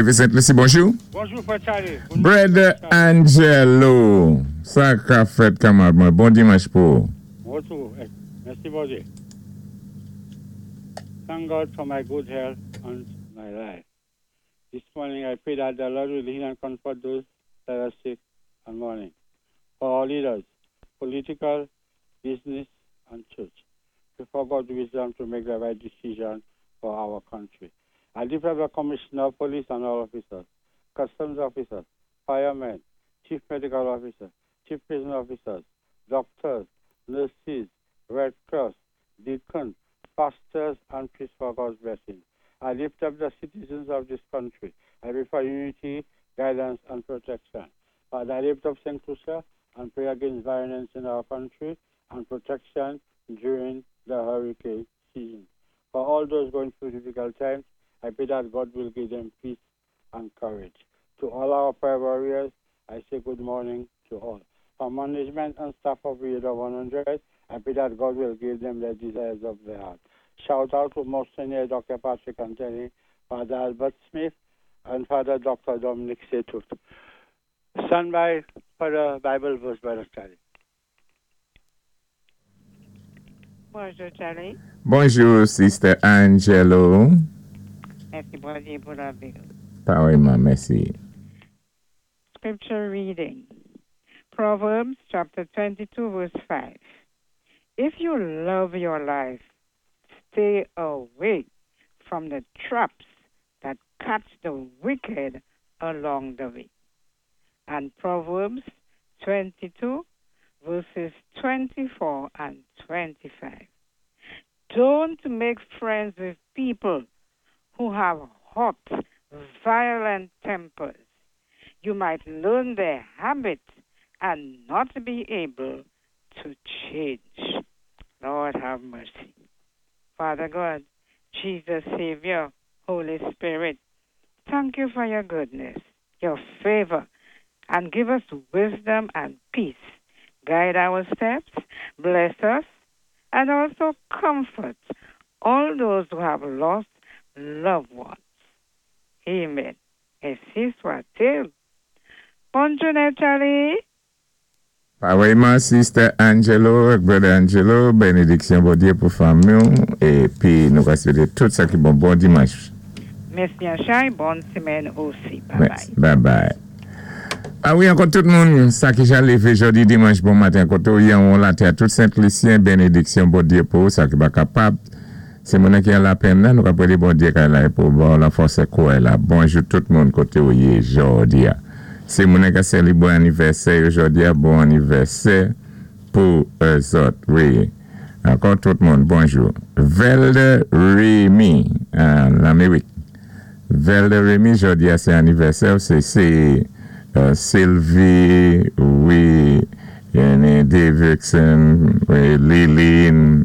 Lévé Sent-Lisi, bonjou. Bonjou, Frè Charlie. Brother Angelo, sa ka fèt, kanmarad mwen? Bon dimanch pou ou. Bonjou, mèsi Bondyé. Thank God for my good health and my life. This morning I pray that the Lord will heal and comfort those that are sick and mourning. For our leaders, political, business, and church. Pray for God's wisdom to make the right decision for our country. I lift up the Commissioner of Police and all officers, customs officers, firemen, chief medical officer, chief prison officers, doctors, nurses, Red Cross, deacons, pastors, and priests for God's blessing. I lift up the citizens of this country. I pray for unity, guidance, and protection. Father, I lift up St. Lucia and pray against violence in our country and protection during the hurricane season. For all those going through difficult times, I pray that God will give them peace and courage. To all our prayer warriors, I say good morning to all. For management and staff of Radio 100, I pray that God will give them the desires of their heart. Shout out to Monsignor Dr. Patrick Anthony, Father Albert Smith, and Father Dr. Dominic Setut. Stand by for the Bible verse, Brother Charlie. Bonjou, Charlie. Bonjou, Sister Angelo. Mèsi, Bondyé, pou lavi. Parèyman, mèsi. Scripture reading. Proverbs chapter 22, verse 5. If you love your life, stay away from the traps that catch the wicked along the way. And Proverbs 22, verses 24 and 25. Don't make friends with people who have hot, violent tempers. You might learn their habits and not be able to change. Lord have mercy. Father God, Jesus Savior, Holy Spirit, thank you for your goodness, your favor, and give us wisdom and peace. Guide our steps, bless us, and also comfort all those who have lost loved ones. Amen. Ensi swat-il. Bòn jounen, Charlie. Parèyman, Sister Angelo, Brother Angelo, bénédiksyon Bondyé pou fanmi épi nou ka swété tout sa ki bon. Bon dimanch. Mèsi, Anchay. Bòn sémèn osi. Bye bye. Mèsi. Bye bye. A wi, ankò tout moun, sa ki ja lévé jòdi dimanch bon maten koté ou yé anwo latè, tout Sent-Lisyen, bénédiksyon Bondyé pou ou, sa ki pa kapab. Si moun ki an lapenn nan, nou ka préyé Bondyé kay la pou ba ou lafòs é kouray la. Bonjou tout moun koté ou yé jòdi a. Si moun ka sélébwé anivèsè yo jòdi a, bon anivèsè pou zòt. Wi. Ankò tout moun, bonjou. Velde Remy, Lamérik. Velde Remy, jòdi a sé anivèsè ou, sé Sylvie, wi, Davidson, wi, Liline.